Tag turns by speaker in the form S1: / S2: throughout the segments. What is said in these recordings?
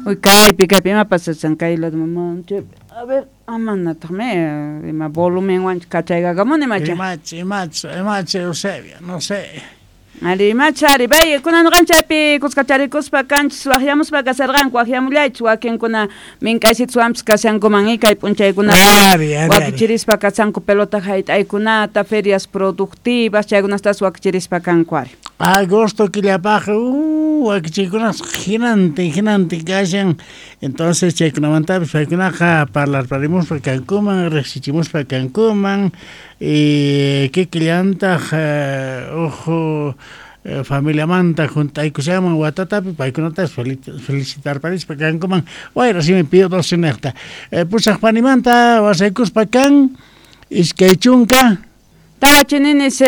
S1: Uy, kaypi, kaypi, ima pasashan kay lado mamá. A ver, amanataqmi, ima volumenwan kachaykakamuni macha.
S2: Imach, imach, imach, Eusebio, no sé.
S1: Ari, imacha, ari, bay, kunan ñuqanchaypi kuskacharikuspa kanchis waqyamuspa kasarqanku, waqyamullaychis wakinkuna mink'aysituswanpis kashankuman, y kay p'unchaykunapi
S2: Ari, ari, ari.
S1: wakichirispa kashanku pelota hayt'aykunata, ferias productivas, chaykunatas wakichirispa kanku, ari.
S2: Agosto killapaq, wakichiykunas hinantin, hinantin kashan. Entonces chaykunamantapis paykunaqa parlarparimuspa kankuman, riqsichimuspa kankuman, y kikillantaq uj familiamanta junt'aykushanman watatapi paykunatapis felicitarparispa kankuman wayra simi Pío 12 niqta. Pusaq panimanta wasaykuspa kan iskay chunka
S1: Tawa chininis,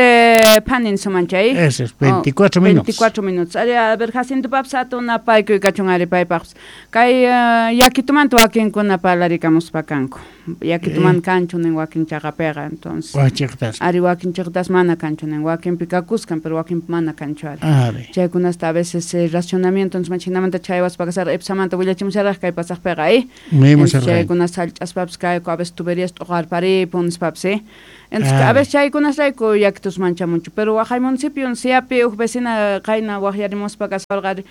S1: panin sumanchay.
S2: Eso es, 24 minutos.
S1: 24 minutos. Ari, a ver, Jacinto Paps, atuna paykuy kachun ari paypaqpis. Kay yakitumanta wakinkuna parlarikamuspa kanku. Yakituman kanchu nin wakin chaqapiqa, entonces.
S2: Wachiqtas.
S1: Ari wakin chaqtas mana kanchu nin, wakinpi kakuskan, pero wakinpi mana kanchu ari.
S2: Ari.
S1: Chaykunasta a veces racionamiento, entonces, machinamanta chaywaspa kasarqa, ipsamanta willachimusharaq kay pasaqpiqa, eh?
S2: Mismo
S1: Entonces,
S2: serrano.
S1: chaykunas sallch'aspapis kayku, a veces tuberías t'uqarparipun nispapis, eh? Entonces,
S2: Ari.
S1: a veces chaykunas rayku yakitus manchamunchu, pero waqay municipio siapi uj vecina qayna waqyarimuspa kasarqa, ari,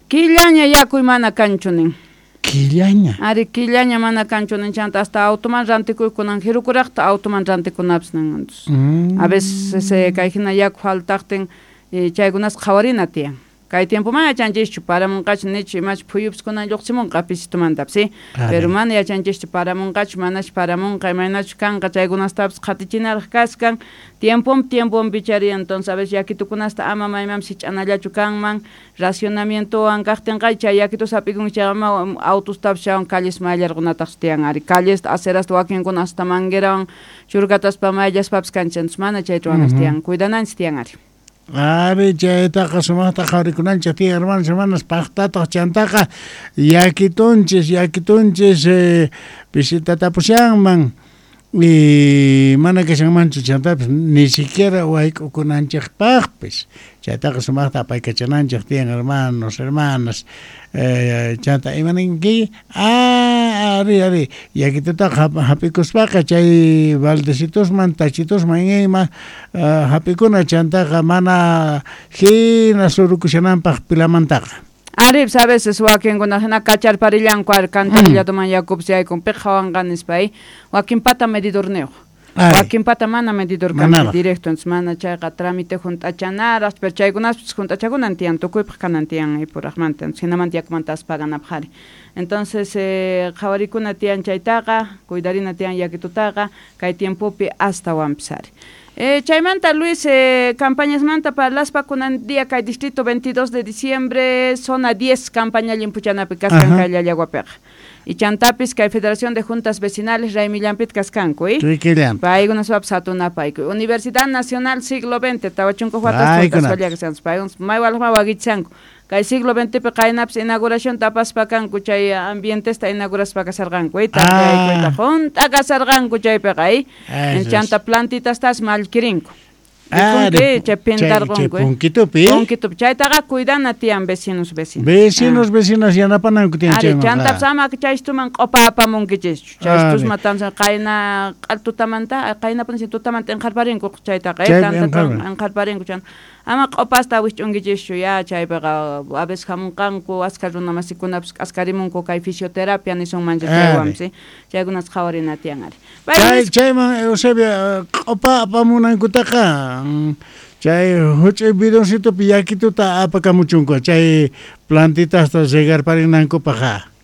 S1: killaña yakuy mana kanchu nin.
S2: Killaña.
S1: Ari, killaña mana kanchu nin, chanta hasta automan rantikuykunan, jirukuraqta automan rantikunapis nin, entonces, a veces ese kay hina yaku faltaqtin, chaykunas qhawarina tiyan. Kay tiempo mana yachanchischu, paramunqachu nichu, imachu phuyupis kunan lluqsimunqa pisitumantapis, ¿sí?
S2: Ari.
S1: Pero mana yachanchischu, paramunqachu, manachu paramunqa, imaynachu kanqa, chaykunastapis qhatichinaraq kaskan, tiempon tiempon pichari, entonces a veces yakitukunasta ama maymanpis sich'anallachu kanman, racionamientowan kaqtinqa, chay yakitus hap'ikunki chay ama autostapis chaywan calles mayllarqunataqchu tiyan, ari, callesta, acerasta wakinkuna hasta manguerawan churkataspa mayllaspapis kanchis, entonces mana chay ruwanas tiyan, cuidananchis tiyan, ari.
S2: Ari, chaytaqa sumaqta qhawarikunanchik tiyan, hermanos, hermanas, paqtataq chantaqa yakitunchis, yakitunchis, visitatapusianman, y mana kashanmanchu chantapis, ni siquiera wayk'ukunanchikpaqpis. Chaytaqa sumaqta apaykachananchik tiyan, hermanos, hermanas. Chanta, imaninki? Ah, ari, ari, yakitutaqa hap'ikuspaqa chay baldecitusman, tachitusman ima, hap'ikuna chantaqa mana hina surukushananpaq pilamantaqa.
S1: Ari, pues, a veces wakinkuna hina kacharparillanku, ari, cantarillatuman yakupis yaykun, piq hawanqa nispa, wakinpata medidorniyuq.
S2: Ari.
S1: Wakinpata mana medidor kanchu
S2: Manaraq.
S1: directo, entonces mana chayqa trámite junt'achanaraq, pero chaykunaspis junt'achakunan tiyan, tukuypaq kanan tiyan ipuraqmanta, entonces hinamanta yakumanta aspaganapaq ari. Entonces, qhawarikuna tiyan chaytaqa, cuidarina tiyan yakitutaqa, kay tiempopi astawanpis ari. Chaymanta, Luis, campañasmanta parlaspa kunan día kay distrito 22 de diciembre, zona 10, campaña llimpuchanapi kaskan kay Llallaguapiqa. Y chantapis kay Federación de Juntas Vecinales Raymillampit kaskanku, ¿eh?
S2: Kikillan.
S1: Paykunaspapas hatunapayku. Universidad Nacional Siglo XX, tawachunku watas
S2: Paykunapis.
S1: juntasqalla kashanku. Paykunas maywalaqma wakichisanku. Kay siglo XXpi qaynapis inauguración tapaspa kanku, chay ambientesta inauguraspa kasarqanku, ¿eh? Tardeaykuyta junt'a kasarqanku chaypiqa, ¿eh?
S2: Eso es.
S1: Chanta plantitastas mallkirinku.
S2: Ah,
S1: Rikunki,
S2: de
S1: chay
S2: chay
S1: pintarqunku, ¿eh?
S2: punkitupi, ¿eh?
S1: Punkitupi. Chaytaqa cuidana tiyan vecinos, vecinas.
S2: Vecinos, vecinas yanapananku tiyan
S1: Ari,
S2: chaymanqa.
S1: chantapis ama chaystuman q'upa apamunkichischu. Chaystusma
S2: Ari.
S1: tansa qayna q'al tutamanta, qaynapuni si tutamanta inqharparinku chaytaqa,
S2: Chaypi
S1: tantata
S2: inqharpan.
S1: inqharparinku chanta. Ama q'upasta wisch'unkichischu, ya chaypiqa a veces hamunqanku, askha runa masikunapis k'askarimunku kay fisioterapia nisunmancha
S2: Ari.
S1: chaywanpis, chaykunas qhawarina tiyan, ari.
S2: Chay,
S1: Pay,
S2: chayman, Eusebio, q'upa apamunankutaqa, chay huch'uy bidoncitopi yakituta apakamuchunku, chay plantitasta regarparinankupaq.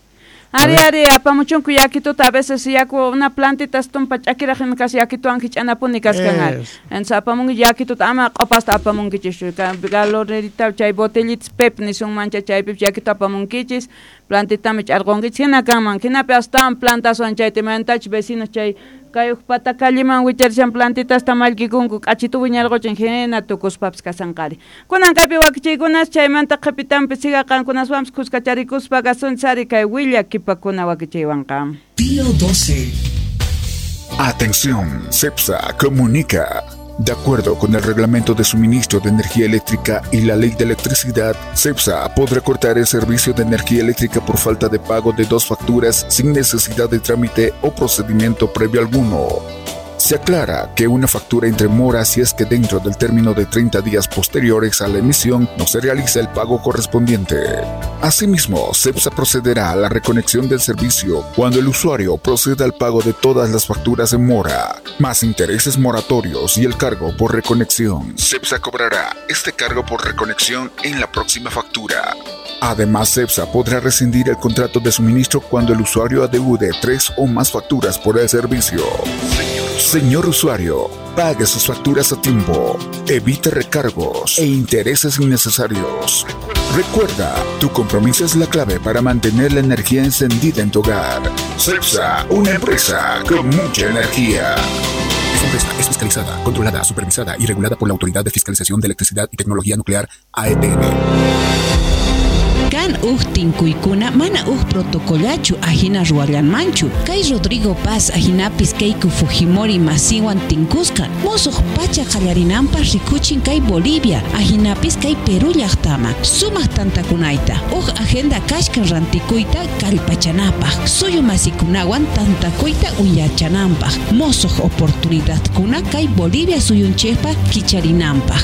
S1: Ari, ari, apamuchunku yakituta, a veces yaku una plantita tumpa ch'akiraq ima kas yakituwan hich'anapuni kaskan, ari.
S2: Es.
S1: Entonces apamunki yakituta, ama q'upasta apamunkichischu, galonerita, chay botellitas pep nisunmancha, chaypipas yakitu apamunkichis, plantitami ch'arqunkichis, hina kanman, hinapi astawan plantaswan chayta imantachus vecinos chay kay uj pata calleman wicharishan plantitasta mallkikunku, k'achitu wiñarquchin, hina tukuspapis kasanqari. Kunan kaypi wakichiykunas, chaymanta qhipitanpi siga qankunaswanpis kuskacharikuspa kasunchis ari kay willakipakuna wakichiywanqa.
S3: Pío 12.
S4: Atención, CEPSA comunica.
S3: De acuerdo con el Reglamento de Suministro de Energía Eléctrica y la Ley de Electricidad, CEPSA podrá cortar el servicio de energía eléctrica por falta de pago de 2 facturas sin necesidad de trámite o procedimiento previo alguno. Se aclara que una factura entre mora si es que dentro del término de 30 días posteriores a la emisión no se realiza el pago correspondiente. Asimismo, CEPSA procederá a la reconexión del servicio cuando el usuario proceda al pago de todas las facturas en mora, más intereses moratorios y el cargo por reconexión. CEPSA cobrará este cargo por reconexión en la próxima factura. Además, CEPSA podrá rescindir el contrato de suministro cuando el usuario adeude 3 o más facturas por el servicio. Señor usuario, pague sus facturas a tiempo, evite recargos e intereses innecesarios. Recuerda, tu compromiso es la clave para mantener la energía encendida en tu hogar. CEPSA, una empresa con mucha energía. Esta empresa es fiscalizada, controlada, supervisada y regulada por la Autoridad de Fiscalización de Electricidad y Tecnología Nuclear, AETN.
S4: Kan uj tinkuykuna mana uj protocolachu ajina ruwallanmanchu. Kay Rodrigo Paz ajinapis Keiko Fujimori masiwan tinkusqa. Mosuq pacha qallarinanpaq rikuchin kay Bolivia, ajinapis kay Perú llaqtama. Sumaq tantakunayta. Uj agenda kashkan rantikuyta kallpachanapaq. Suyu masikunawan tantakuyta uyachananpaq. Mosuq oportunidadkuna kay Bolivia suyunchikpa kicharinanpaq.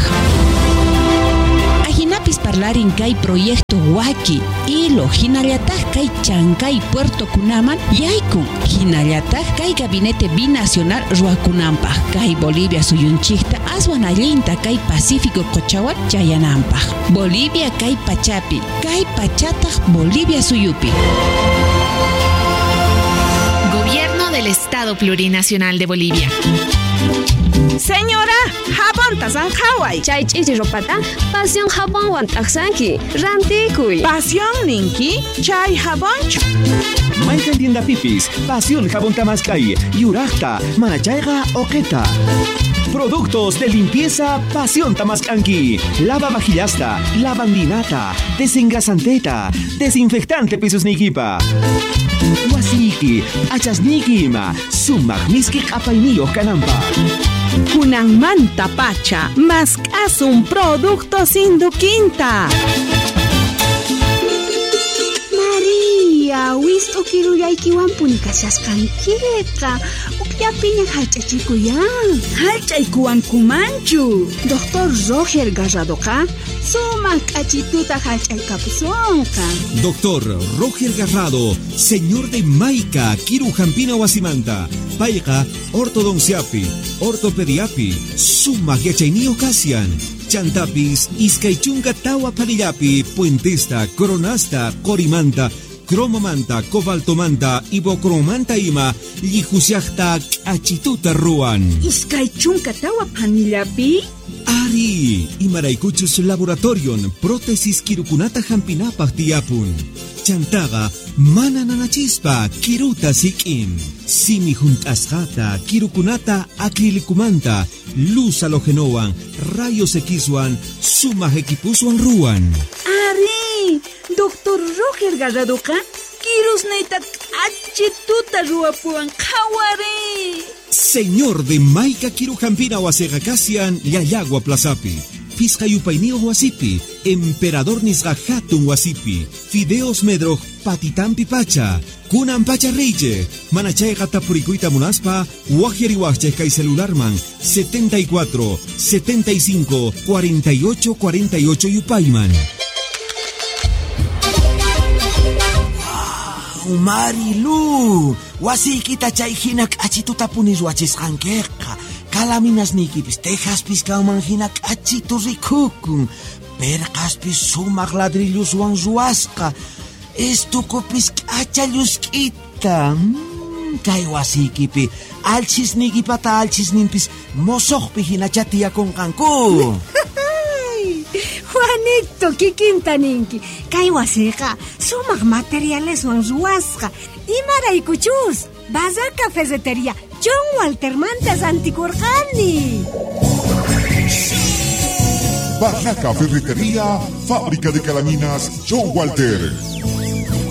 S4: Ajinapis parlarin kay proyecto Waki, Ilo, hinallataq kay Chancay Puerto kunaman yaykun, hinallataq kay gabinete binacional ruwakunanpaq, kay Bolivia suyunchikta aswan allinta kay Pacífico qochawan chayananpaq. Bolivia kay pachapi, kay pachataq Bolivia suyupi.
S5: Gobierno del Estado Plurinacional de Bolivia.
S6: Señora, jabonta sanjaway.
S7: Chay ch'isi ropata, pasión jabonwan t'aqsanki. Rantikuy.
S6: Pasión ninki, chay jabonchu.
S8: Mayqan tienda pipis, pasión jabón tamaskay, yuraqta, manachayqa oqeta. Productos de limpieza Pasión Tamascanqui. Lava vajillasta, lavandinata, desengrasanteta, desinfectante pisos nikipa. Wasiki, achasniki ima, sumaq miski q'apayniyuq kananpaq.
S6: Kunanmanta pacha, mask'asun productos Induquinta.
S9: María, wist'u kirullaykiwanpuni kashasqankiqa. Ukllapiña hallch'achikuyan.
S6: Hallch'aykuwankumanchu.
S9: Doctor Roger Garradoqa sumaq k'achituta hallch'aykapusonqa.
S8: Doctor Roger Garrado, señor de Maica, Kiru Jampina Wasimanta, Payqa, ortodonciapi, ortopediapi, sumaq yachayniyuq kasian. Chantapis, iskay chunka tawa panillapi, puentesta, coronasta, qorimanta, cromomanta, cobaltomanta, ibocromanta ima, llijusiaqta k'achituta ruwan.
S6: 20 panillapi?
S8: Ari, imaraykuchus laboratorion, prótesis kirukunata hampinapaq tiyapun. Chantaqa, mana nanachispa, kiruta sik'in. Simi junt'asqata, kirukunata acrilicumanta, luz halogenowan, rayos Xwan, sumaq equipuswan ruwan.
S6: Ari, Doctor Roger Garradoqa, kirusniyta k'achituta ruwapuwan qhawari.
S8: Señor de Maica Kirujampina wasiqa kasian Llallagua Plazapi, Pisqa yupayniyuq wasipi, Emperador nisqa hatun wasipi, Fideos Medroj patitampi pacha, kunan pacha reyche, manachayqa tapurikuyta munaspa, waqyariwaqchej kay celularman 74 75 48 48 yupayman.
S10: Marilu, wasiykita chay hina k'achituta puni ruwachisqankiqa. Kalaminasniykipis tejaspis kanman hina k'achitu rikukun. Perqaspis sumaq ladrilluswan ruwasqa. Estukupis k'acha llusk'ita. Kay wasiykipi alchisniykipata alchisninpis mosoqpi hinacha tiyakunqanku.
S11: Juanito, kikinta ninki. Kay wasiqa sumaq materialeswan ruwasqa. Imaraykuchus, Barraca Ferretería, John Waltermanta rantikurqani.
S3: Barraca Ferretería, fábrica de calaminas John Walter.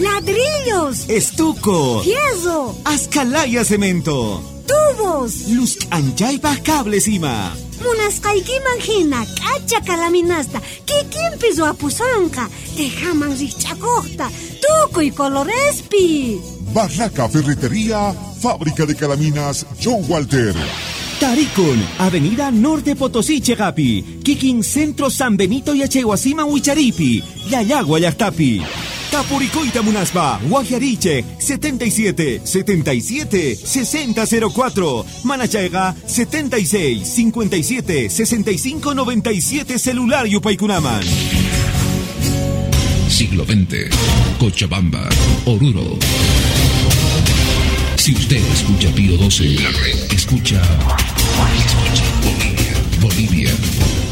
S11: Ladrillos,
S8: estuco,
S11: fierro,
S8: ascalaya cemento,
S11: tubos. Tubos.
S8: Luz k'anchaypaj cables ima.
S11: Munasqaykiman hina k'acha kalaminasta kikinpi ruwapusonqa, tejaman rijch'akojta, tukuy colorespi.
S3: Barraca Ferretería, fábrica de calaminas John Walter.
S8: Tarikun, Avenida Norte Potosí Chegapi, Kikin Centro San Benito Yachaywasiman Wicharipi, Llallagua llajtapi. Tapuricoita Munaspa, Guajariche, 77 77 6004, Manachayga 76 57 65 97 celular Yupaykunaman.
S12: Siglo XX, Cochabamba, Oruro. Si usted escucha Pío 12, la red escucha. Escucha.